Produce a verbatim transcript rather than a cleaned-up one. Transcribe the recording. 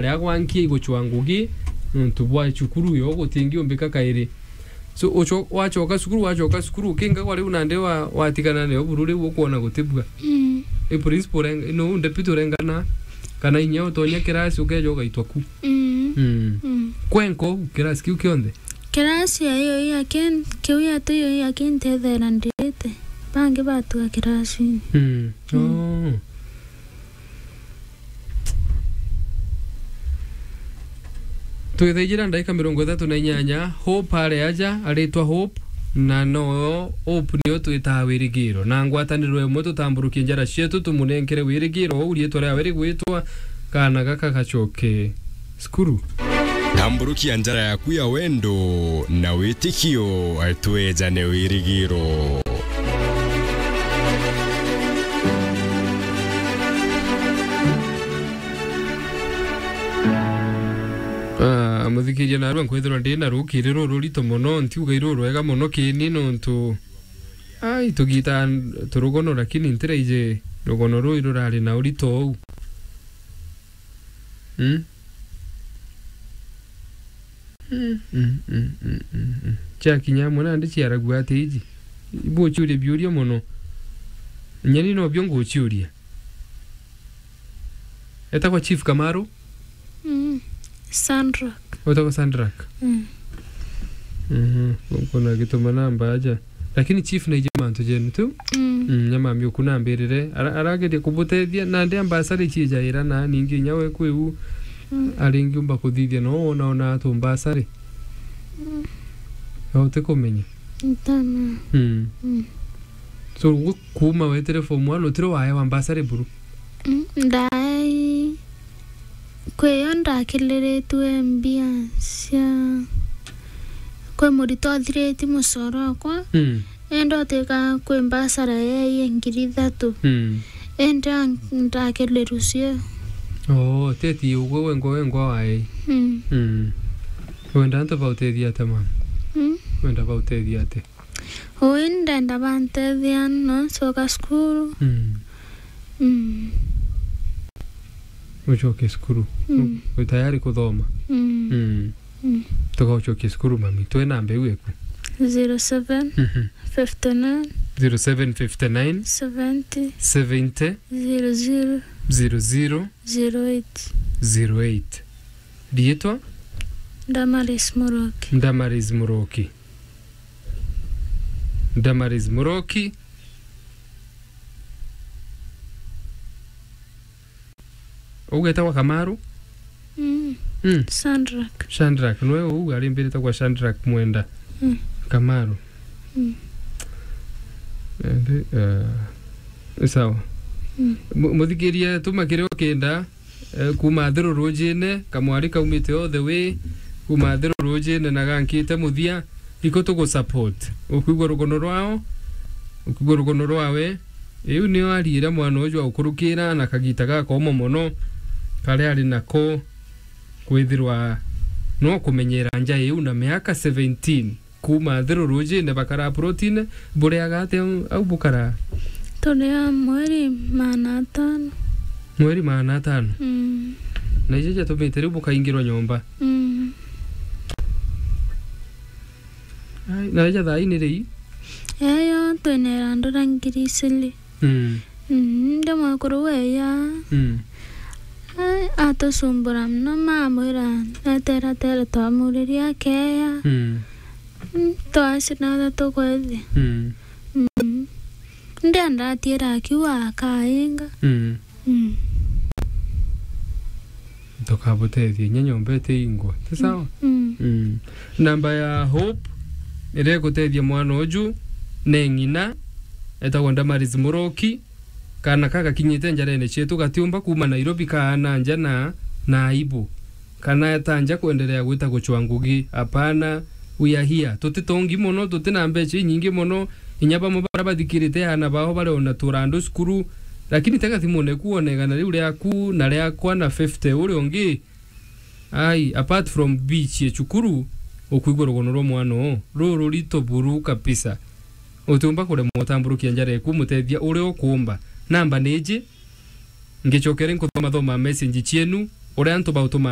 riria gwankia iguchwa ngugi, nontu bwa cukuru yo gutingiumbika kairi. So, ucho-, wachoka cukuru, wachoka cukuru, ukinga kwa riu nandi wa-, watigana nayo buru riu ukwona gutibua. Mm. I principal ureng-, no deputy urengana, kana inya utonya kirasi ukeja ugaitwa ku. Mm. Mm. Mm. Kwenko, kirasi kiu kionthe? Kirasi ya iyo ya kin-, kiu ya tu iyo ya kintethera ndite. Bangi batuga kirasini. Mm. Mm. Oh. Twithaijira ndagika mirongo ithatu na inyanya, Hope ari aja, aritwa Hope, na no Hope nio twitaga wirigiro. Na ngwataniro imwe tutamburukie njara cietu, tumunenkere wirigiro, uu riitwa riawe rigwitwa, kaana gaka gacoke cukuru. Tamburukia njara yaku ya wendo na witikio, twejane wirigiro. Ah, muthikiria, narua nkwithirwa ndi na rukiri rururito mono, ntiuga irurwega mono kini nontu, ai, tugita turugono, lakini ntiraiji rugono rui rurari na urito uu. Mm? Mm, mm, mm, mm, mm, mm. Ciakinya amwe nandi ciaragua ati iji. Ibu uciuria biuria mono. Nyeni nobio nguciuria. Etagwa Chief Kamaru? Mm. Sandrak. Wetagwa Sandrak? Mm. Mhm. Kuna gituma namba aja. Lakini chief naije mantu jenu tu. Mm. Mm, nyamami uku nambirire. Ara-, arageria kubutethia, nandi ambasari ciijaira na ningi inya we kwiu. Mm. Aringiumba kuthithia no ona ona atu mbasari. Mm. Utikumenya. Ntama. Mm. Mm. So, gu-, kuuma wetire form one, utire waewa mbasari buru? Mm, ndaai. Kwi yo ndakiriritue mbia cia, kwi murito uthiritie mucoro wakwa, mm, indi utika kwi mbasara yeeye ngiri ithatu. Mm. Indi a-, ndakiriru cio. Oo, teti ugwe wengwa, wengwa waei. Mm. Mm. Wenda antu bautethia atia, mama? Mm. Wenda bautethia atia? Ui ndenda bantethia no ncoka cukuru. Mm. Mm. Ucoke cukuru. Mm. U-, wi tayari kuthoma? Mm. Mm. Mm. Tuga ucokie cukuru, mami. Twi namba iu iku? Zero seven, mhm, fifty nine, zero seven fifty nine, seventy, seventy, zero zero, zero zero, zero eight, zero eight. Riitwa? Damaris Muroki. Damaris Muroki. Damaris Muroki. Ugetagwa Kamaru? Mm. Mm. Sandrak. Shandrak. Nwe uu arimbirite kwa Shandrak Mwenda. Mm. Kamaru. Mm. Ende, eh, ni sawa. Mm. Mu-, muthikiria, tuma kiria ukenda. Eh, kuuma Athiru Rujine, kamwari kaumite all the way, kuuma Athiru Rujine na gankite muthia, iko tugu support. Ukwigua rugono rwao, ukwigua rugono rwawe. Iu nio ariire mwana uju aukurukira na kagita gakoma mono, karia ari nako, kwithirwa no kumenyera nja iu na miaka seventeen. Kuuma Athiru Rujine bakara plotine, buriaga atia au bukara? Turia mweri maana atano. Mweri maana atano? Mm. Na icio ciatumite riu bukaingirwa nyomba? Mm. Ai, na ija thaa ii ni rii? Eyo, twinera ndura ngiri iciri. Mm. Mm, ndi mwekuru weya. Mm. Ai, atucumbura mono, mamwira, eteretere twamuriria akeya. Mm. Mm, twacina na tukwethi. Mm. Mm. Ndi andatira akiuga akainga. Mm. Mm. Tukabutethia inya nyomba itiingwa. Ti sawa? Mm. Mm. Namba ya Hope iria igutethia mwana uju ni ng'ina, etagwa Damaris Muroki. Kaana ka gakinyite njarene cietu gatiumba kuuma Nairobi kaana nja na, na aibu. Kana eta nja kwenderea gwita gucwa ngugi. Hapana, we are here. Tutitongi mono, tuti na mbeca inyingi mono. Inya bamwe baria bathikirite aana bao bari ona turandu cukuru. Lakini tega thimune ku wone igana riu riaku na riakwa na fifty uria ungi. Ai, apart from beach ye cukuru, ukwigua rugono rwa mwana uu rururito buru kabisa. Utiumba kuremwa utamburukia njara eku umutethia uria ukuumba. Namba ni iji, ngicokere nkuthoma thoma message cienu, uria antu bautuma